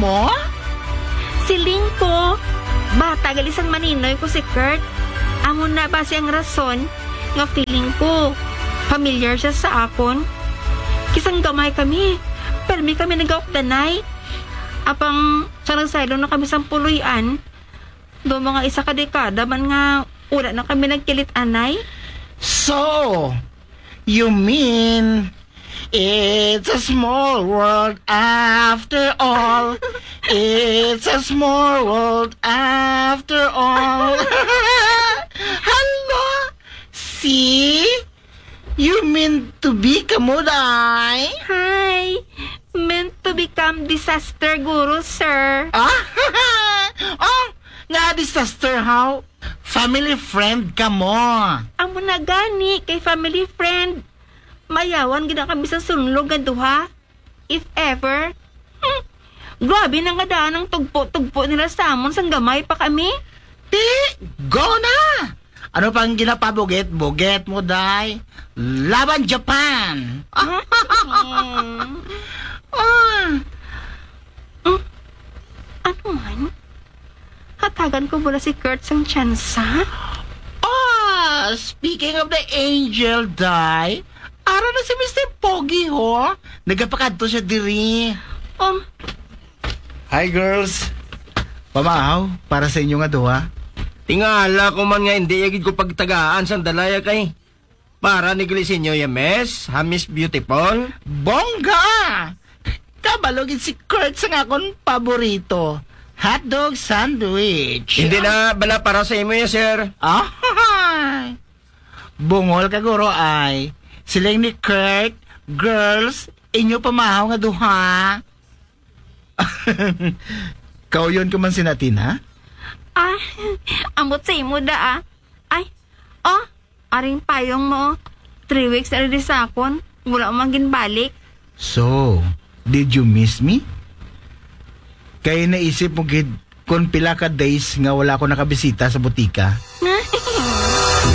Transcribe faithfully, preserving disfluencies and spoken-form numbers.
mo? Siling ko, bata gali sang maninoy ko si Kurt. Amo na basi ang rason nga feeling ko familiar siya sa akon. Kay sang gamay kami, permi kami nagaupdanay. Apang sa nagsaylo na kami sang puloy-an, do mga isa ka dekada man nga wala na kami nagkilit-anay. So, you mean it's a small world after all? It's a small world after all. Hello? See? You mean to be kamo, day? Hi! Meant to become disaster guru, sir. Ah? Oh, nga disaster, how? Family friend kamo. Amo na gani, kay family friend. Mayawan gid na kami sa sunlog nga duha. If ever. Hmm. Grabe na nga daan ang tugpo-tugpo nila sa amon sang gamay pa kami. Ti, go na! Ano pang ginapabugit-bugit mo, day? Laban Japan! Ah. Mm. Ano man? Hatagan ko bala si Kurt sang tsansa? Ah, speaking of the angel, day, ara na si Mister Pogi, ho. Nagapakadto siya diri. Um, Hi, girls. Pamahaw para sa inyo nga duha. Tingala ko man nga hindi ya gid ko pagtagaan sang dalaya kay para ni Gilisinyo ya, miss, ha, Miss Beautiful. Bongga! Kabalo gid si Kurt sa nga akon paborito, hotdog sandwich. Hindi na bala para sa imo ya, sir. Ah, bungol ka, guro, ay. Siling ni Kurt, girls, inyo pamahaw nga duha. Kauyon ka man si Natin, ha? Ah, ambot sa imo da, ah. Ay, oh, aring payong mo. Three weeks na rin sa akon. Wala man ginbalik. So, did you miss me? Kay naisip mo gid kung pila ka days nga wala ako nakabisita sa butika.